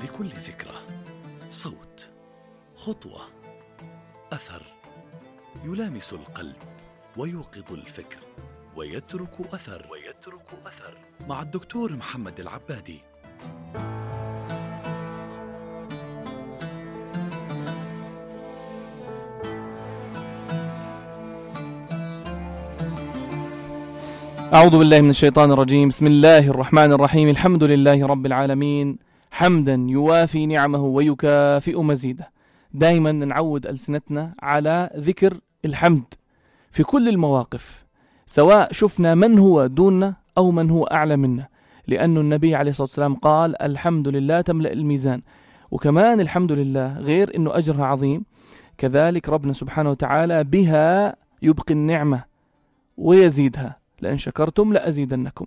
لكل ذكرى صوت، خطوة، أثر يلامس القلب ويوقظ الفكر ويترك أثر مع الدكتور محمد العبادي. أعوذ بالله من الشيطان الرجيم. بسم الله الرحمن الرحيم. الحمد لله رب العالمين، حمدا يوافي نعمه ويكافئ مزيده. دائما نعود ألسنتنا على ذكر الحمد في كل المواقف، سواء شفنا من هو دوننا أو من هو أعلى منا، لأن النبي عليه الصلاة والسلام قال الحمد لله تملأ الميزان. وكمان الحمد لله غير أنه أجرها عظيم، كذلك ربنا سبحانه وتعالى بها يبقي النعمة ويزيدها، لأن شكرتم لأزيدنكم.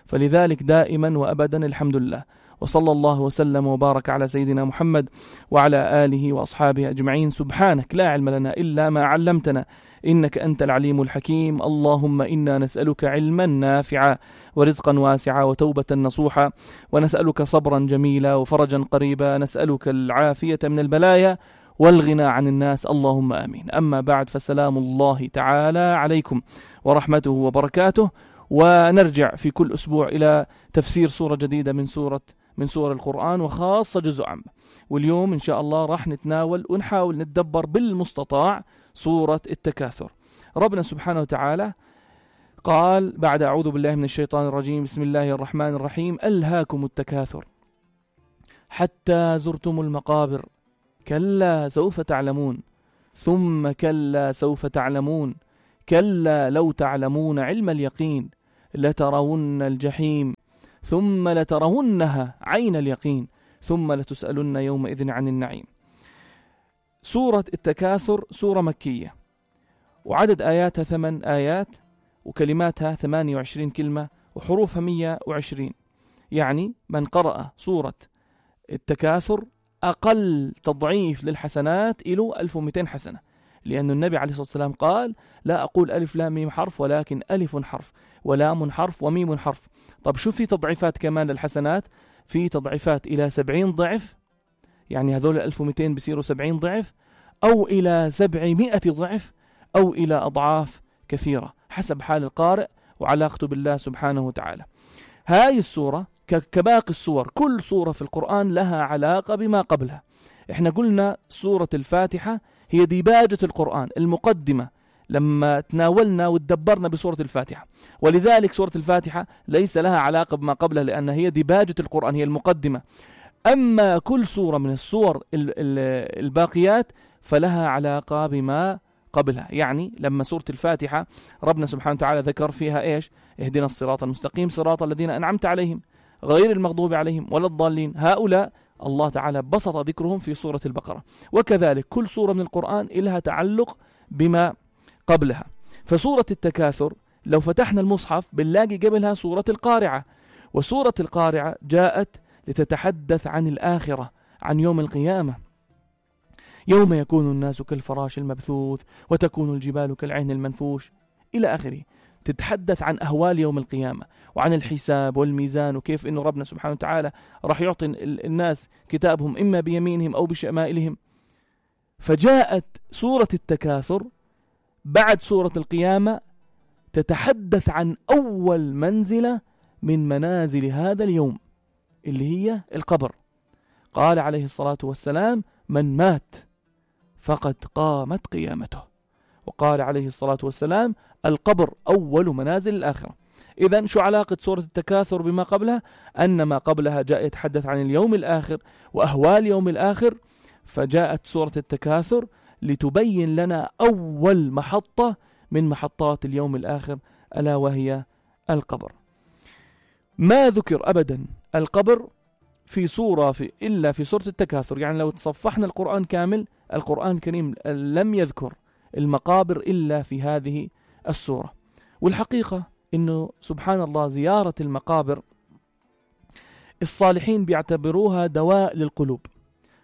فلذلك دائما وأبدا الحمد لله. وصلى الله وسلم وبارك على سيدنا محمد وعلى آله وأصحابه أجمعين. سبحانك لا علم لنا إلا ما علمتنا، إنك أنت العليم الحكيم. اللهم إنا نسألك علما نافعا ورزقا واسعا وتوبة نصوحا، ونسألك صبرا جميلا وفرجا قريبا، نسألك العافية من البلايا والغنى عن الناس، اللهم آمين. أما بعد، فسلام الله تعالى عليكم ورحمته وبركاته. ونرجع في كل أسبوع إلى تفسير سورة جديدة من سور القرآن، وخاصة جزء عام. واليوم إن شاء الله راح نتناول ونحاول نتدبر بالمستطاع سورة التكاثر. ربنا سبحانه وتعالى قال بعد أعوذ بالله من الشيطان الرجيم، بسم الله الرحمن الرحيم: ألهاكم التكاثر حتى زرتم المقابر، كلا سوف تعلمون، ثم كلا سوف تعلمون، كلا لو تعلمون علم اليقين لترون الجحيم ثم لترونها عين اليقين ثم لتسألن يومئذ عن النعيم. سورة التكاثر سورة مكية، وعدد آياتها 8 آيات، وكلماتها 28 كلمة، وحروفها 120. يعني من قرأ سورة التكاثر أقل تضعيف للحسنات إلى 1200 حسنة، لأن النبي عليه الصلاة والسلام قال: لا أقول ألف لام ميم حرف، ولكن ألف حرف ولام حرف وميم حرف. طب شو في تضعيفات كمان للحسنات؟ في تضعيفات إلى 70 ضعف، يعني هذول 1200 بصيروا 70 ضعف، أو إلى 700 ضعف، أو إلى أضعاف كثيرة حسب حال القارئ وعلاقته بالله سبحانه وتعالى. هاي السورة كباقي السور، كل سورة في القرآن لها علاقة بما قبلها. احنا قلنا سورة الفاتحة هي ديباجة القرآن، المقدمة لما تناولنا وتدبرنا بسورة الفاتحة، ولذلك سورة الفاتحة ليس لها علاقة بما قبلها، لأن هي ديباجة القرآن، هي المقدمة. أما كل سورة من السور الباقيات فلها علاقة بما قبلها. يعني لما سورة الفاتحة ربنا سبحانه وتعالى ذكر فيها إيش؟ اهدنا الصراط المستقيم صراط الذين أنعمت عليهم غير المغضوب عليهم ولا الضالين، هؤلاء الله تعالى بسط ذكرهم في سورة البقرة. وكذلك كل سورة من القرآن لها تعلق بما قبلها. فسورة التكاثر لو فتحنا المصحف بنلاقي قبلها سورة القارعة، وسورة القارعة جاءت لتتحدث عن الآخرة، عن يوم القيامة، يوم يكون الناس كالفراش المبثوث وتكون الجبال كالعهن المنفوش إلى آخره. تتحدث عن أهوال يوم القيامة وعن الحساب والميزان، وكيف إنه ربنا سبحانه وتعالى راح يعطي الناس كتابهم إما بيمينهم أو بشمائلهم. فجاءت سورة التكاثر بعد سورة القيامة تتحدث عن أول منزلة من منازل هذا اليوم، اللي هي القبر. قال عليه الصلاة والسلام: من مات فقد قامت قيامته. وقال عليه الصلاة والسلام: القبر أول منازل الآخرة. إذن شو علاقة سورة التكاثر بما قبلها؟ أن ما قبلها جاء يتحدث عن اليوم الآخر وأهوال يوم الآخر، فجاءت سورة التكاثر لتبين لنا أول محطة من محطات اليوم الآخر، ألا وهي القبر. ما ذكر أبدا القبر في سورة إلا في سورة التكاثر. يعني لو تصفحنا القرآن كامل، القرآن الكريم لم يذكر المقابر إلا في هذه السورة. والحقيقة إنه سبحان الله زيارة المقابر الصالحين بيعتبروها دواء للقلوب.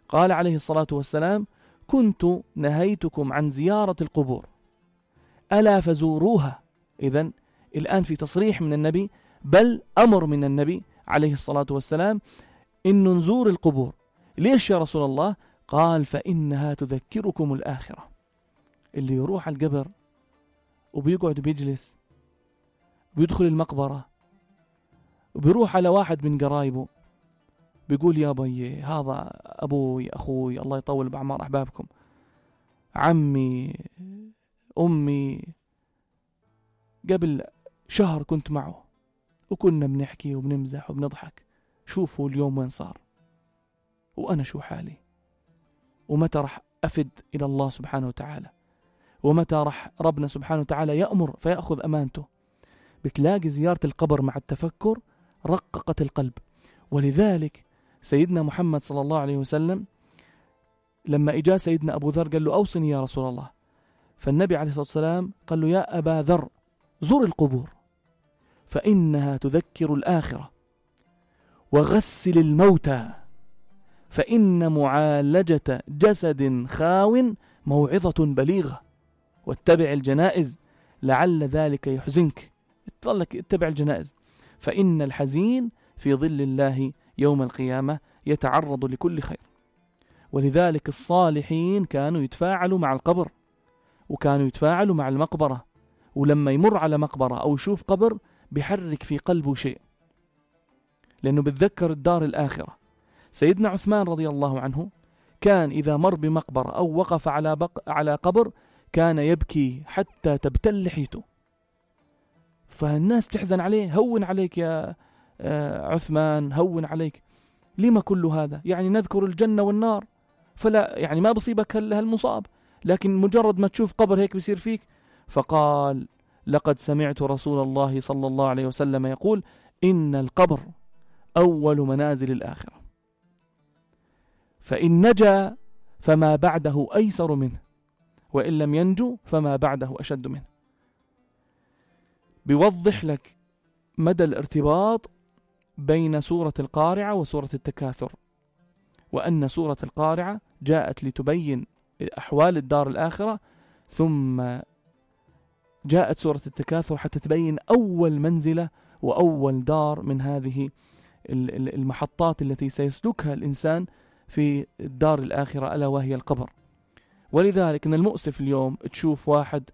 قال عليه الصلاة والسلام: كنت نهيتكم عن زيارة القبور ألا فزوروها. إذن الآن في تصريح من النبي، بل أمر من النبي عليه الصلاة والسلام إنه نزور القبور. ليش يا رسول الله؟ قال فإنها تذكركم الآخرة. اللي يروح على القبر وبيقعد بيجلس بيدخل المقبرة وبيروح على واحد من قرايبه بيقول يا بي هذا أبوي أخوي الله يطول بأعمار أحبابكم، عمي أمي، قبل شهر كنت معه وكنا بنحكي وبنمزح وبنضحك، شوفوا اليوم وين صار وأنا شو حالي، ومتى رح أفد إلى الله سبحانه وتعالى، ومتى رح ربنا سبحانه وتعالى يأمر فيأخذ أمانته. بتلاقي زيارة القبر مع التفكر رققت القلب. ولذلك سيدنا محمد صلى الله عليه وسلم لما إجا سيدنا أبو ذر قال له أوصني يا رسول الله، فالنبي عليه الصلاة والسلام قال له يا أبا ذر زر القبور فإنها تذكر الآخرة، وغسل الموتى فإن معالجة جسد خاو موعظة بليغة، واتبع الجنائز لعل ذلك يحزنك. اتبع الجنائز، فإن الحزين في ظل الله يوم القيامة يتعرض لكل خير. ولذلك الصالحين كانوا يتفاعلوا مع القبر وكانوا يتفاعلوا مع المقبرة، ولما يمر على مقبرة أو يشوف قبر بيحرك في قلبه شيء، لأنه بتذكر الدار الآخرة. سيدنا عثمان رضي الله عنه كان إذا مر بمقبرة أو وقف على قبر كان يبكي حتى تبتل لحيته، فالناس تحزن عليه. هون عليك يا عثمان، هون عليك، لما كل هذا؟ يعني نذكر الجنة والنار، فلا يعني ما بصيبك هالمصاب، لكن مجرد ما تشوف قبر هيك بيصير فيك. فقال لقد سمعت رسول الله صلى الله عليه وسلم يقول إن القبر أول منازل الآخرة، فإن نجا فما بعده أيسر منه، وإن لم ينجو فما بعده أشد منه. بيوضح لك مدى الارتباط بين سورة القارعة وسورة التكاثر، وأن سورة القارعة جاءت لتبين أحوال الدار الآخرة، ثم جاءت سورة التكاثر حتى تبين أول منزلة وأول دار من هذه المحطات التي سيسلكها الإنسان في الدار الآخرة، ألا وهي القبر. ولذلك من المؤسف اليوم تشوف واحد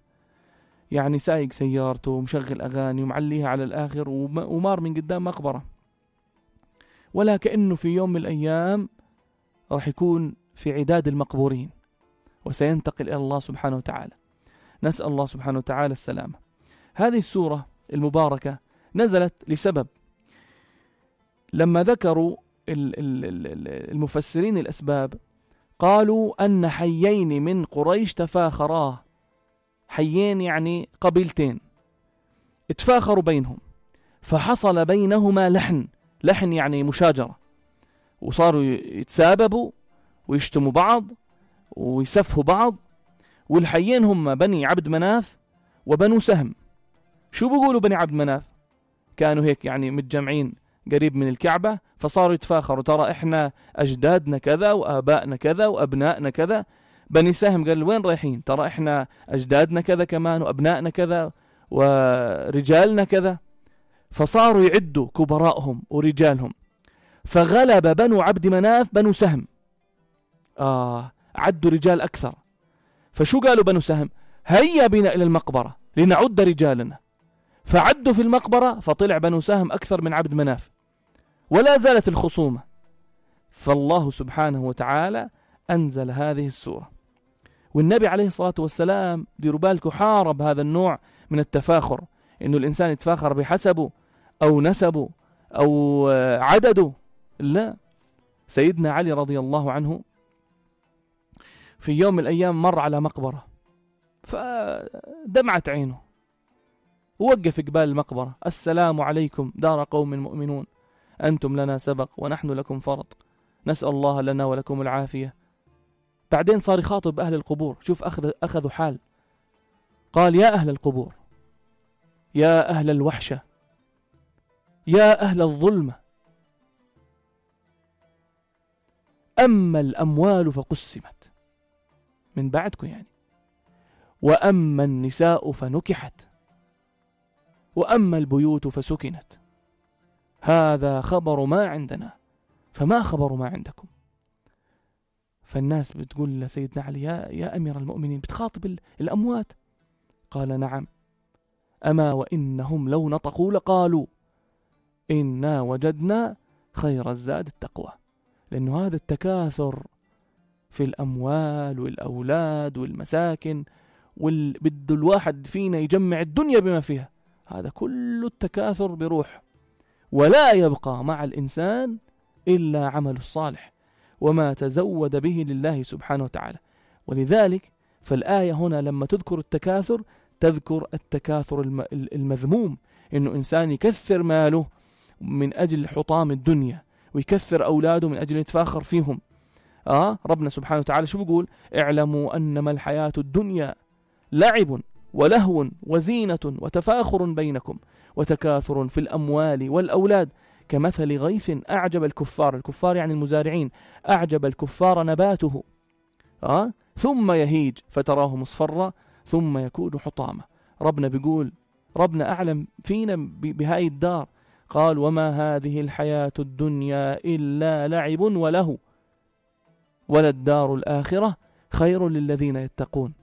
يعني سايق سيارته ومشغل أغاني ومعليها على الآخر ومار من قدام مقبرة، ولا كأنه في يوم من الأيام راح يكون في عداد المقبورين وسينتقل إلى الله سبحانه وتعالى. نسأل الله سبحانه وتعالى السلامة. هذه السورة المباركة نزلت لسبب، لما ذكروا المفسرين الأسباب قالوا أن حيين من قريش تفاخرا، حيين يعني قبيلتين اتفاخروا بينهم، فحصل بينهما لحن يعني مشاجرة، وصاروا يتساببوا ويشتموا بعض ويسفهوا بعض. والحيين هم بني عبد مناف وبنو سهم. شو بيقولوا بني عبد مناف؟ كانوا هيك يعني متجمعين قريب من الكعبة، فصاروا يتفاخروا ترى إحنا أجدادنا كذا وآبائنا كذا وأبنائنا كذا. بني سهم قال وين رايحين؟ ترى إحنا أجدادنا كذا كمان وأبنائنا كذا ورجالنا كذا. فصاروا يعدوا كبراءهم ورجالهم، فغلب بنو عبد مناف بنو سهم، عدوا رجال أكثر. فشو قالوا بنو سهم؟ هيا بنا إلى المقبرة لنعد رجالنا. فعدوا في المقبرة، فطلع بنو سهم أكثر من عبد مناف، ولا زالت الخصومة. فالله سبحانه وتعالى أنزل هذه السورة. والنبي عليه الصلاة والسلام ديروا بالكم حارب هذا النوع من التفاخر، إنه الإنسان يتفاخر بحسبه أو نسبه أو عدده. لا، سيدنا علي رضي الله عنه في يوم من الأيام مر على مقبرة فدمعت عينه، ووقف قبال المقبرة: السلام عليكم دار قوم مؤمنون، أنتم لنا سبق ونحن لكم فرط، نسأل الله لنا ولكم العافية. بعدين صار يخاطب أهل القبور. شوف أخذوا حال. قال: يا أهل القبور، يا أهل الوحشة، يا أهل الظلمة، أما الأموال فقسمت من بعدكم يعني، وأما النساء فنكحت، وأما البيوت فسكنت، هذا خبر ما عندنا فما خبر ما عندكم. فالناس بتقول لسيدنا علي: يا أمير المؤمنين، بتخاطب الأموات؟ قال: نعم، أما وإنهم لو نطقوا لقالوا إنا وجدنا خير الزاد التقوى. لأنه هذا التكاثر في الأموال والأولاد والمساكن بده الواحد فينا يجمع الدنيا بما فيها، هذا كل التكاثر بروح، ولا يبقى مع الإنسان إلا عمل الصالح وما تزود به لله سبحانه وتعالى. ولذلك فالآية هنا لما تذكر التكاثر تذكر التكاثر المذموم، إنه إنسان يكثر ماله من أجل حطام الدنيا ويكثر أولاده من أجل يتفاخر فيهم. ربنا سبحانه وتعالى شو بيقول؟ اعلموا أنما الحياة الدنيا لعب ولهو وزينة وتفاخر بينكم وتكاثر في الأموال والأولاد كمثل غيث أعجب الكفار يعني المزارعين، أعجب الكفار نباته ثم يهيج فتراه مصفرا ثم يكون حطاما. ربنا بيقول، ربنا أعلم فينا بهاي الدار، قال: وما هذه الحياة الدنيا إلا لعب ولهو وللدار الآخرة خير للذين يتقون.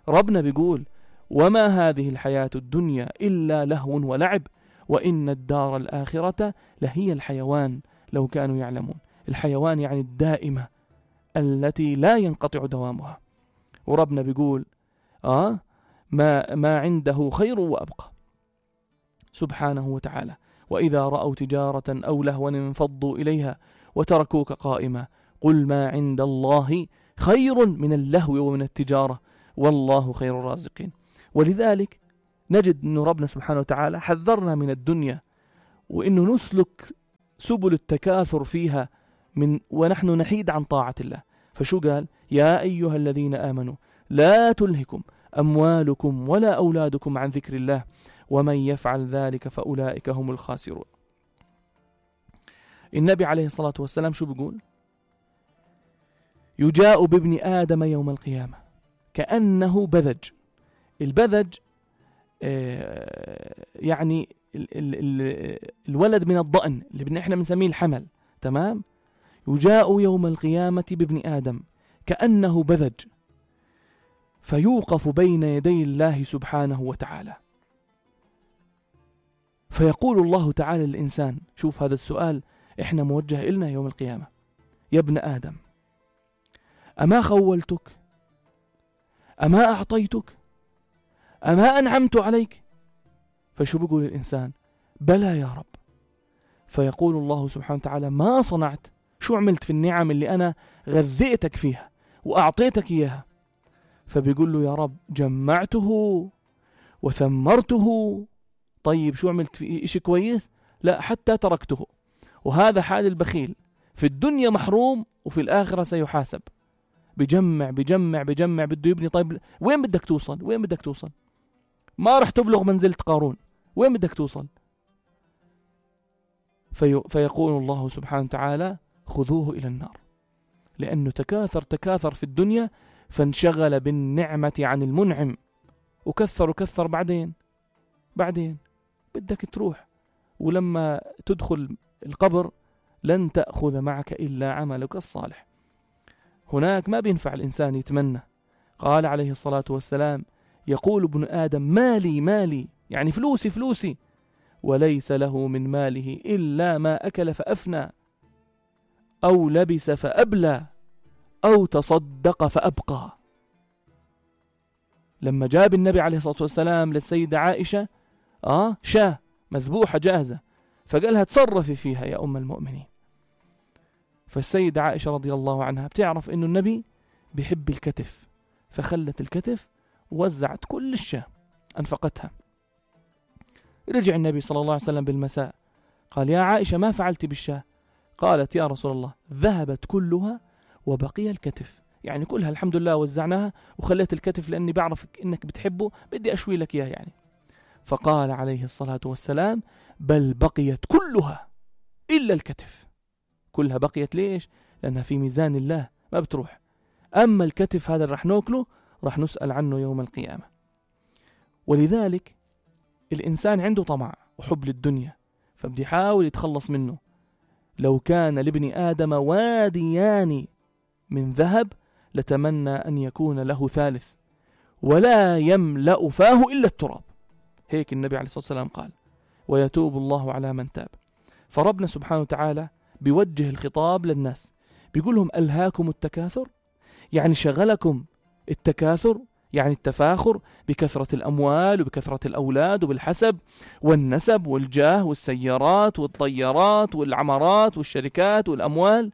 ربنا بيقول: وما هذه الحياة الدنيا إلا لهو ولعب وإن الدار الآخرة لهي الحيوان لو كانوا يعلمون. الحيوان يعني الدائمة التي لا ينقطع دوامها. وربنا بيقول ما عنده خير وأبقى سبحانه وتعالى. وإذا رأوا تجارة أو لهوا انفضوا إليها وتركوك قائما قل ما عند الله خير من اللهو ومن التجارة والله خير الرازقين. ولذلك نجد أن ربنا سبحانه وتعالى حذرنا من الدنيا، وإنه نسلك سبل التكاثر فيها ونحن نحيد عن طاعة الله. فشو قال؟ يا أيها الذين آمنوا لا تلهكم أموالكم ولا أولادكم عن ذكر الله ومن يفعل ذلك فأولئك هم الخاسرون. النبي عليه الصلاة والسلام شو بيقول؟ يجاء بابن آدم يوم القيامة كأنه بذج. البذج يعني الولد من الضأن اللي احنا بنسميه الحمل، تمام؟ يجاء يوم القيامة بابن آدم كأنه بذج فيوقف بين يدي الله سبحانه وتعالى فيقول الله تعالى للإنسان، شوف هذا السؤال احنا موجه إلنا يوم القيامة: يا ابن آدم أما خولتك؟ أما أعطيتك؟ أما أنعمت عليك؟ فشو بيقول الإنسان؟ بلى يا رب. فيقول الله سبحانه وتعالى: ما صنعت؟ شو عملت في النعم اللي أنا غذيتك فيها وأعطيتك إياها؟ فبيقول له: يا رب جمعته وثمرته. طيب شو عملت في إشي كويس؟ لا، حتى تركته. وهذا حال البخيل، في الدنيا محروم وفي الآخرة سيحاسب. بجمع بجمع بجمع بده يبني. طيب وين بدك توصل؟ وين بدك توصل؟ ما رح تبلغ منزلة قارون، وين بدك توصل؟ فيقول الله سبحانه وتعالى: خذوه إلى النار، لأنه تكاثر في الدنيا فانشغل بالنعمة عن المنعم وكثر بعدين بدك تروح، ولما تدخل القبر لن تأخذ معك إلا عملك الصالح. هناك ما بينفع الإنسان يتمنى. قال عليه الصلاة والسلام: يقول ابن آدم مالي، يعني فلوسي، وليس له من ماله إلا ما أكل فأفنى أو لبس فأبلى أو تصدق فأبقى. لما جاب النبي عليه الصلاة والسلام للسيدة عائشة شاة مذبوحة جاهزة، فقالها تصرفي فيها يا أم المؤمنين. فالسيدة عائشة رضي الله عنها بتعرف إنه النبي بيحب الكتف، فخلت الكتف ووزعت كل الشاة أنفقتها. رجع النبي صلى الله عليه وسلم بالمساء قال: يا عائشة ما فعلت بالشاة؟ قالت: يا رسول الله ذهبت كلها وبقي الكتف، يعني كلها الحمد لله وزعناها وخليت الكتف لأني بعرف إنك بتحبه، بدي أشوي لك إياه يعني. فقال عليه الصلاة والسلام: بل بقيت كلها إلا الكتف. كلها بقيت ليش؟ لأنها في ميزان الله ما بتروح. أما الكتف هذا رح ناكله، رح نسأل عنه يوم القيامة. ولذلك الإنسان عنده طمع وحب للدنيا، فبدي يحاول يتخلص منه. لو كان لابن آدم واديان من ذهب لتمنى أن يكون له ثالث ولا يملأ فاه إلا التراب. هيك النبي عليه الصلاة والسلام قال: ويتوب الله على من تاب. فربنا سبحانه وتعالى بيوجه الخطاب للناس، بيقول لهم: ألهاكم التكاثر؟ يعني شغلكم التكاثر، يعني التفاخر بكثرة الأموال وبكثرة الأولاد وبالحسب والنسب والجاه والسيارات والطيارات والعمارات والشركات والأموال.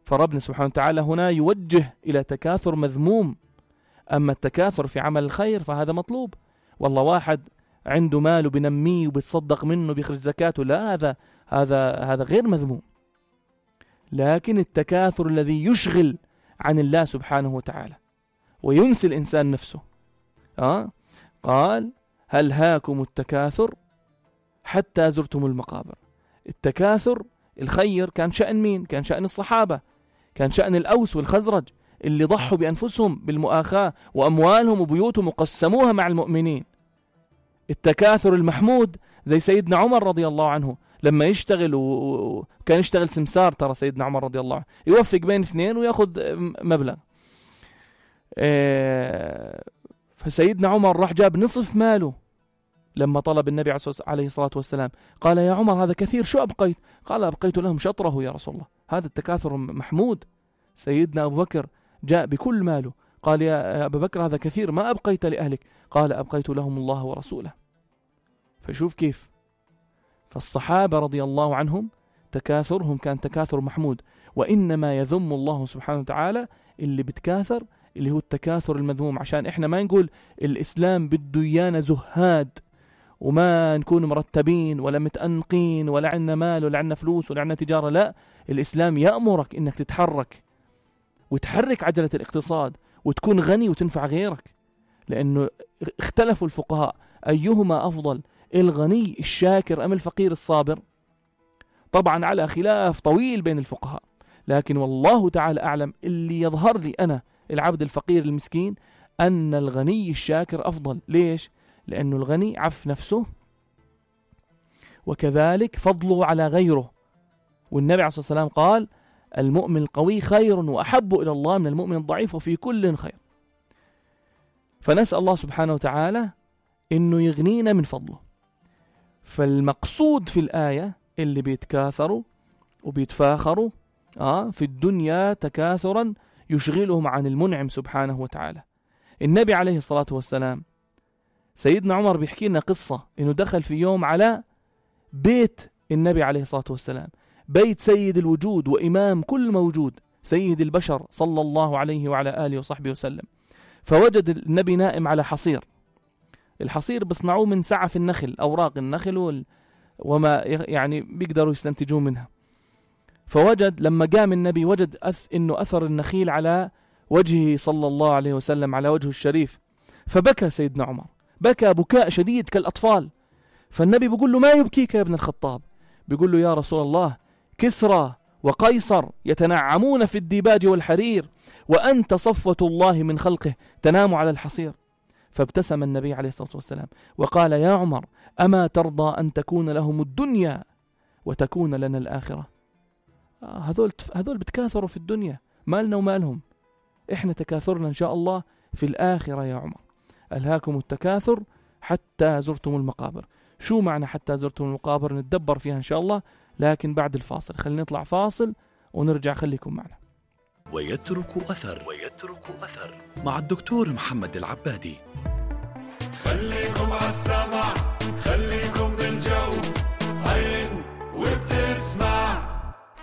فربنا سبحانه وتعالى هنا يوجه إلى تكاثر مذموم. أما التكاثر في عمل الخير فهذا مطلوب. والله واحد عنده مال وبنميه وبيتصدق منه بيخرج زكاته، لا، هذا غير مذموم. لكن التكاثر الذي يشغل عن الله سبحانه وتعالى وينسي الإنسان نفسه. قال: هل هاكم التكاثر حتى زرتم المقابر. التكاثر الخير كان شأن مين؟ كان شأن الصحابة، كان شأن الأوس والخزرج اللي ضحوا بأنفسهم بالمؤاخاة وأموالهم وبيوتهم وقسموها مع المؤمنين. التكاثر المحمود زي سيدنا عمر رضي الله عنه لما يشتغل، وكان يشتغل سمسار، ترى سيدنا عمر رضي الله عنه يوفق بين اثنين ويأخذ مبلغ. فسيدنا عمر راح جاب نصف ماله لما طلب النبي عليه الصلاة والسلام، قال: يا عمر هذا كثير، شو أبقيت؟ قال: أبقيت لهم شطره يا رسول الله. هذا التكاثر محمود. سيدنا أبو بكر جاء بكل ماله، قال: يا أبا بكر هذا كثير، ما أبقيت لأهلك؟ قال: أبقيت لهم الله ورسوله. فشوف كيف. فالصحابة رضي الله عنهم تكاثرهم كان تكاثر محمود. وإنما يذم الله سبحانه وتعالى اللي بتكاثر، اللي هو التكاثر المذموم، عشان إحنا ما نقول الإسلام بده إيانا زهاد وما نكون مرتبين ولا متأنقين ولا عنا مال ولا عنا فلوس ولا عنا تجارة. لا، الإسلام يأمرك إنك تتحرك وتحرك عجلة الاقتصاد وتكون غني وتنفع غيرك. لأنه اختلفوا الفقهاء أيهما أفضل، الغني الشاكر أم الفقير الصابر؟ طبعا على خلاف طويل بين الفقهاء، لكن والله تعالى أعلم اللي يظهر لي أنا العبد الفقير المسكين أن الغني الشاكر أفضل. ليش؟ لأنه الغني عف نفسه وكذلك فضله على غيره. والنبي عليه الصلاة والسلام قال: المؤمن القوي خير وأحب إلى الله من المؤمن الضعيف وفي كل خير. فنسأل الله سبحانه وتعالى إنه يغنينا من فضله. فالمقصود في الآية اللي بيتكاثروا وبيتفاخروا في الدنيا تكاثرا يشغلهم عن المنعم سبحانه وتعالى. النبي عليه الصلاة والسلام، سيدنا عمر بيحكي لنا قصة إنه دخل في يوم على بيت النبي عليه الصلاة والسلام، بيت سيد الوجود وإمام كل موجود، سيد البشر صلى الله عليه وعلى آله وصحبه وسلم. فوجد النبي نائم على حصير. الحصير بصنعوه من سعف النخل، أوراق النخل وما يعني بيقدروا يستنتجون منها. فوجد لما قام النبي وجد إنه أثر النخيل على وجهه صلى الله عليه وسلم، على وجهه الشريف. فبكى سيدنا عمر، بكى بكاء شديد كالأطفال. فالنبي بيقول له: ما يبكيك يا ابن الخطاب؟ بيقول له: يا رسول الله، كسرى وقيصر يتنعمون في الديباج والحرير وأنت صفوة الله من خلقه تنام على الحصير. فابتسم النبي عليه الصلاة والسلام وقال: يا عمر، أما ترضى أن تكون لهم الدنيا وتكون لنا الآخرة؟ هذول بتكاثروا في الدنيا، مالنا ومالهم، إحنا تكاثرنا إن شاء الله في الآخرة يا عمر. ألهاكم التكاثر حتى زرتم المقابر. شو معنى حتى زرتم المقابر؟ نتدبر فيها إن شاء الله، لكن بعد الفاصل. خلينا نطلع فاصل ونرجع. خليكم معنا. ويترك أثر مع الدكتور محمد العبادي. خليكم عالسمع، خليكم بالجو، هين وبتسمع.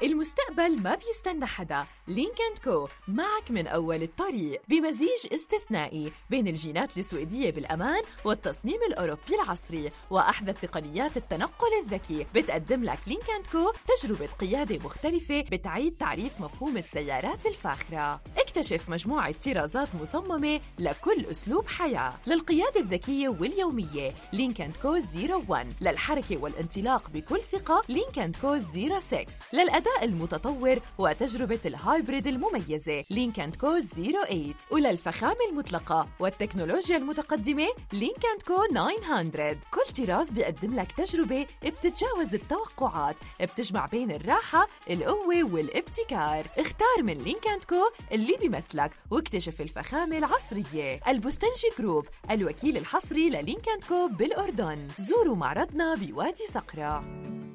المستقبل ما بيستنى حدا. لينك اند كو معك من أول الطريق بمزيج استثنائي بين الجينات السويدية بالأمان والتصميم الأوروبي العصري وأحدث تقنيات التنقل الذكي. بتقدم لك لينك اند كو تجربة قيادة مختلفة بتعيد تعريف مفهوم السيارات الفاخرة. اكتشف مجموعة طرازات مصممة لكل أسلوب حياة. للقيادة الذكية واليومية لينك اند كو 01، للحركة والانطلاق بكل ثقة لينك اند كو 06، للأداء الأداء المتطور وتجربة الهايبريد المميزة لينك & كو 08. وللفخامة المطلقة والتكنولوجيا المتقدمة لينك & كو 900. كل طراز بيقدم لك تجربة بتتجاوز التوقعات، بتجمع بين الراحة، القوة والابتكار. اختار من لينك & كو اللي بيمثلك واكتشف الفخامة العصرية. البستنجي جروب، الوكيل الحصري للينك & كو بالأردن. زوروا معرضنا بوادي صقرة.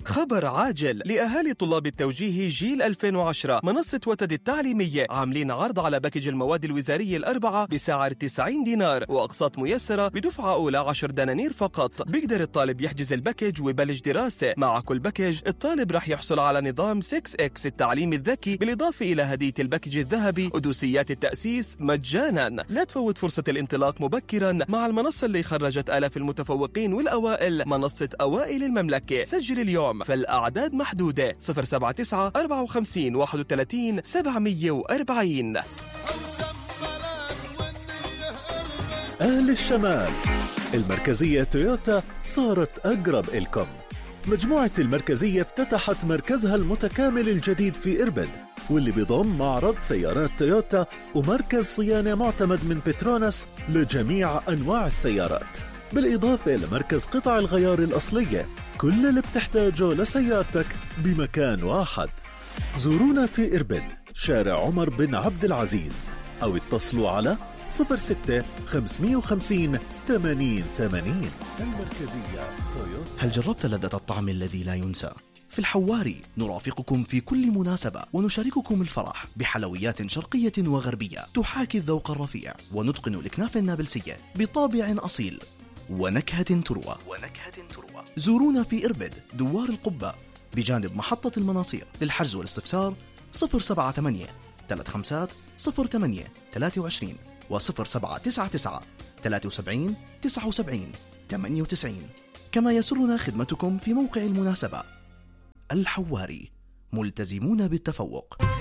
خبر عاجل لأهالي طلاب التوجيه جيل 2010. منصة وتد التعليمية عاملين عرض على باكج المواد الوزارية الأربعة بسعر 90 دينار وأقساط ميسرة بدفعة أولى 10 دنانير فقط. بيقدر الطالب يحجز الباكج ويبلش دراسة. مع كل باكج الطالب رح يحصل على نظام 6X التعليم الذكي، بالإضافة إلى هدية الباكج الذهبي ودوسيات التأسيس مجانا. لا تفوت فرصة الانطلاق مبكرا مع المنصة اللي خرجت آلاف المتفوقين والأوائل، منصة أوائل المملكة. سجل اليوم فالأعداد محدودة. 079 54 31 740. أهل الشمال، المركزية تويوتا صارت أقرب إلكم. مجموعة المركزية افتتحت مركزها المتكامل الجديد في إربد، واللي بيضم معرض سيارات تويوتا ومركز صيانة معتمد من بتروناس لجميع أنواع السيارات، بالإضافة لمركز قطع الغيار الأصلية. كل اللي بتحتاجه لسيارتك بمكان واحد. زورونا في إربد، شارع عمر بن عبد العزيز، أو اتصلوا على 06 550 80 80. المركزية تويوتا. هل جربت لذة الطعم الذي لا ينسى؟ في الحواري نرافقكم في كل مناسبة ونشارككم الفرح بحلويات شرقية وغربية تحاكي الذوق الرفيع، ونتقن الكنافة النابلسية بطابع أصيل ونكهة تروى. زورونا في إربد دوار القبة بجانب محطة المناصير. للحجز والاستفسار 078 35 08 23 و 0799 73 79 98. كما يسرنا خدمتكم في موقع المناسبة. الحواري، ملتزمون بالتفوق.